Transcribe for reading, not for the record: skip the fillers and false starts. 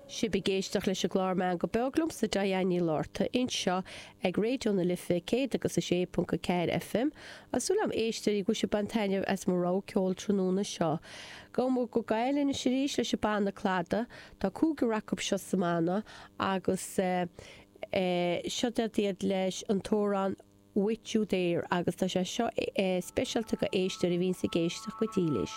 Sibh ag éisteacht leis an gclár Meangadh Beag liomsa Diane Ní Fhlatharta anseo ag Raidió na Life 106.4 FM. Tá súil agam éisteoirí go bhfuil sibh ag baint taitneamh as mo rogha ceoil tráthnóna seo. Gabhfaidh muid go Gaelainn anois arís leis an banna Clada. Tá cúigear acu seo sa mbanna agus seo iad leis an t-amhrán With You There agus tá sé seo speisialta go éisteoirí a bhíonns ag éisteacht go dílis.